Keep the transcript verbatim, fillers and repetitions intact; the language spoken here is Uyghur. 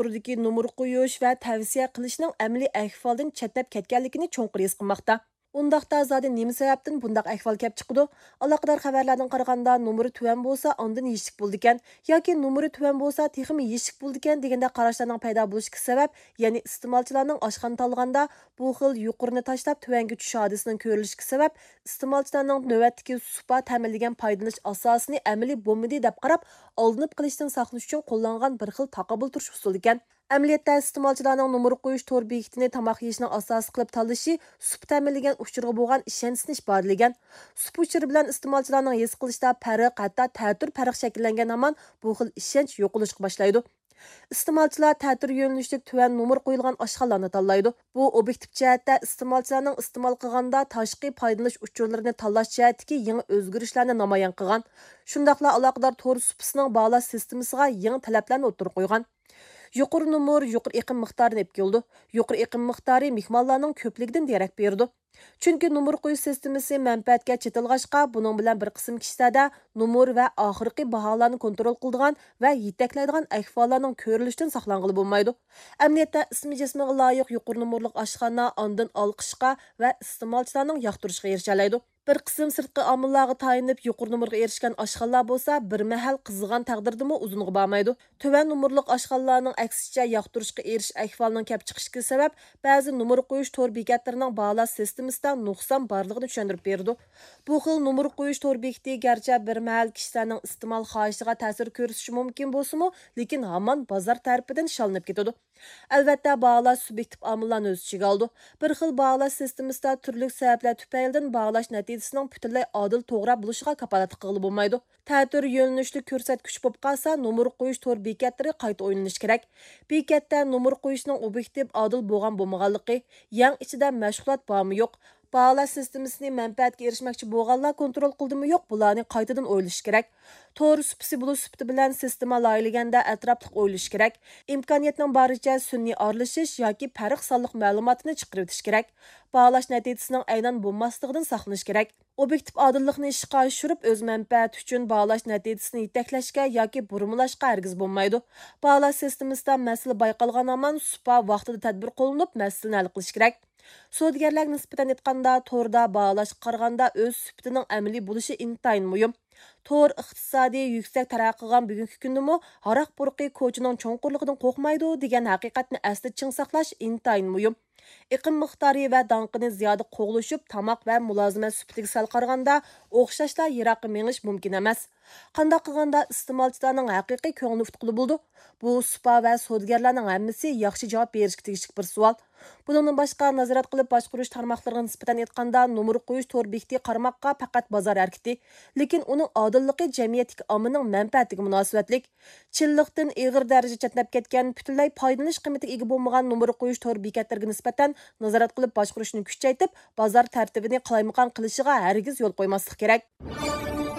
يۇقىرىدىكى نومۇر قويۇش ۋە تەۋسىيە قىلىشنىڭ ئەمەلىي ئەھۋالدىن چەتنەپ كەتكەنلىكىنى چوڭقۇر ھېس قىلماقتا. ئۇنداقتا زادى نېمە سەۋەبتىن بۇنداق ئەھۋال كەپ چىقىدۇ؟ ئالاقىدار خەۋەرلەردىن قارىغاندا، نومۇرى تۆۋەن بولسا ئاندىن يېشىلىك بولىدىكەن ياكى نومۇرى تۆۋەن بولسا تېخىمۇ يېشىلىك بولىدىكەن دېگەندەك قاراشلارنىڭ پەيدا بولۇشىدىكى سەۋەب، يەنى ئىستېمالچىلارنىڭ ئاشخانا تاللىغاندا بۇ خىل يۇقىرىنى تاشلاپ تۆۋەنگە چۈشۈش ھادىسىنىڭ كۆرۈلۈشىدىكى سەۋەب ئىستېمالچىلارنىڭ نۆۋەتتىكى سۇپا تەمىنلىگەن پايدىلىنىش ئاساسىنى ئەمەلىي بولمىدى دەپ قاراپ، ئالدىنىپ قېلىشتىن ساقلىنىش ئۈچۈن قوللانغان بىر خىل تاقابىل تۇرۇش ئۇسۇلىكەن. ئەمەلىيەتتە، ئىستېمالچىلارنىڭ نومۇر قويۇش تور بېكىتىنى تاماق يېيىشنىڭ ئاساسى قىلىپ تاللىشى سۇپا تەمىنلىگەن ئۇچۇرغا بولغان ئىشەنچىسىنى ئىپادىلىگەن. سۇپا ئۇچۇرى بىلەن ئىستېمالچىلارنىڭ ھېس قىلىشىدا پەرق، ھەتتا تەتۈر پەرق شەكىللەنگەن ھامان بۇ خىل ئىشەنچ يوقىلىشقا باشلايدۇ. ئىستېمالچىلار تەتۈر يۆنىلىشلىك تۆۋەن نومۇر قويۇلغان ئاشخانىلارنى تاللايدۇ. بۇ ئوبيېكتىپ جەھەتتە ئىستېمالچىلارنىڭ ئىستېمال قىلغاندا تاشقى پايدىلىنىش ئۇچۇرلىرىنى تاللاش جەھەتتىكى يېڭى ئۆزگىرىشلەرنى نامايان قىلغان. شۇنداقلا ئالاقىدار تور سۇپىسىنىڭ باھالاش سىستېمىسىغا يېڭى تەلەپلەرنى ئوتتۇرىغا قويغان. يۇقىرى نومۇر يۇقىرى ئېقىم مىقدارىنى ئېلىپ كېلىدۇ. يۇقىرى ئېقىم مىقدارى مېھمانلارنىڭ كۆپلۈكىدىن دېرەك بېرىدۇ. چۈنكى نومۇر قويۇش سىستېمىسى مەنپەئەتكە چېتىلغاچقا، بۇنىڭ بىلەن بىر قىسىم كىشىلەردە نومۇر ۋە ئاخىرقى باھالارنى كونترول قىلىدىغان ۋە يېتەكلەيدىغان ئەھۋاللارنىڭ كۆرۈلۈشىدىن ساقلانغىلى بولمايدۇ. ئەمەلىيەتتە، ئىسمى جىسمىغا لايىق يۇقىرى نومۇرلۇق ئاشخانا ئاندىن ئالقىشقا ۋە ئىستېمالچىلارنىڭ ياقتۇرۇشىغا ئېرىشەلەيدۇ. بىر قىسىم سىرتقى ئامىللارغا تايىنىپ يۇقىرى نومۇرغا ئېرىشكەن ئاشخانىلار بولسا، بىر مەھەل قىزىغان تەقدىردىمۇ ئۇزۇنغا بارمايدۇ. تۆۋەن نومۇرلۇق ئاشخانىلارنىڭ ئەكسىچە ياقتۇرۇشقا ئېرىشىش ئەھۋالىنىڭ كەپ چىقىشىدىكى سەۋەب، بەزى نومۇر قويۇش تور بېكەتلىرىنىڭ باھالاش سىستېمىسىدا نۇقسان بارلىقىنى چۈشەندۈرۈپ بېرىدۇ. بۇ خىل نومۇر قويۇش تور بېكىتى گەرچە بىر مەھەل كىشىلەرنىڭ ئىستېمال خاھىشىغا تەسىر كۆرسىتىشى مۇمكىن بولسىمۇ، لېكىن ھامان بازار تەرىپىدىن شاللىنىپ كېتىدۇ. ئەلۋەتتە، باھالاش سۇبيېكتىپ ئامىللارنى ئۆز ئىچىگە ئالىدۇ. بىر خىل باھالاش سىستېمىسىدا تۈرلۈك سەۋەبلەر تۈپەيلىدىن باھالاش نەتىجىسىنىڭ پۈتۈنلەي ئادىل، توغرا بولۇشىغا كاپالەتلىك قىلغىلى بولمايدۇ. تەتۈر يۆنىلىشلىك كۆرسەتكۈچ بولۇپ قالسا، نومۇر قويۇش تور بېكەتلىرى قايتا ئويلىنىشى كېرەك. بېكەتتە نومۇر قويۇشنىڭ ئوبيېكتىپ، ئادىل بولغان بولمىغانلىقى، يەڭ ئىچىدە مەشغۇلات بارمۇ يوق، باھالاش سىستېمىسىنى مەنپەئەتكە ئېرىشمەكچى بولغانلار كونترول قىلدىمۇ يوق، بۇلارنى قايتىدىن ئويلىشىش كېرەك. تور سۇپىسى بولۇش سۈپىتى بىلەن سىستېما لايىھىلىگەندە ئەتراپلىق ئويلىشىش كېرەك. ئىمكانىيەتنىڭ بارىچە سۈنئىي ئارىلىشىش ياكى پەرق سانلىق مەلۇماتىنى چىقىرىۋېتىش كېرەك. باھالاش نەتىجىسىنىڭ ئەينەن بولماسلىقىدىن ساقلىنىش كېرەك. ئوبيېكتىپ ئادىللىقنى ئىشقا ئاشۇرۇپ، ئۆز مەنپەئەتى ئۈچۈن باھالاش نەتىجىسىنى يېتەكلەشكە ياكى بۇرمىلاشقا ھەرگىز بولمايدۇ. باھالاش سىستېمىسىدا مەسىلە بايقالغان ھامان سۇپا ۋاقتىدا تەدبىر قوللىنىپ، مەسىلىنى ھەل قىلىش كېرەك. سودىگەرلەرگە نىسبەتەن ئېيتقاندا، توردا باھالاشقا قارىغاندا ئۆز سۈپىتىنىڭ ئەمەلىي بولۇشى ئىنتايىن مۇھىم. تور ئىقتىسادى يۈكسەك تەرەققىي قىلغان بۈگۈنكى كۈندىمۇ ھاراق پۇرىقى كوچىنىڭ چوڭقۇرلۇقىدىن قورقمايدۇ دېگەن ھەقىقەتنى ئەستە چىڭ ساقلاش ئىنتايىن مۇھىم. ئېقىم مىقدارى ۋە داڭقىنى زىيادە قوغلىشىپ، تاماق ۋە مۇلازىمەت سۈپىتىگە سەل قارىغاندا ئوخشاشلا يىراققا مېڭىش مۇمكىن ئەمەس. قانداق قىلغاندا ئىستېمالچىلارنىڭ ھەقىقىي كۆڭلىنى ئۇتقىلى بولىدۇ؟ بۇ سۇپا ۋە سودىگەرلەرنىڭ ھەممىسى ياخشى جاۋاب بېرىشكە تېگىشلىك بىر سوئال. بۇنىڭدىن باشقا، نازارەت قىلىپ باشقۇرۇش تارماقلىرىغا نىسبەتەن ئېيتقاندا، نومۇر قويۇش تور بېكىتى قارىماققا پەقەت بازار ھەرىكىتى، لېكىن ئۇنىڭ ئادىللىقى جەمئىيەتتىكى ئاممىنىڭ مەنپەئەتىگە مۇناسىۋەتلىك. چىنلىقتىن ئېغىر دەرىجىدە چەتنەپ كەتكەن، پۈتۈنلەي پايدىلىنىش قىممىتىگە ئىگە بولمىغان نومۇر قويۇش تور بېكەتلىرىگە نىسبەتەن نازارەت قىلىپ باشقۇرۇشنى كۈچەيتىپ، بازار تەرتىپىنى قالايمىقان قىلىشىغا ھەرگىز يول قويماسلىق كېرەك.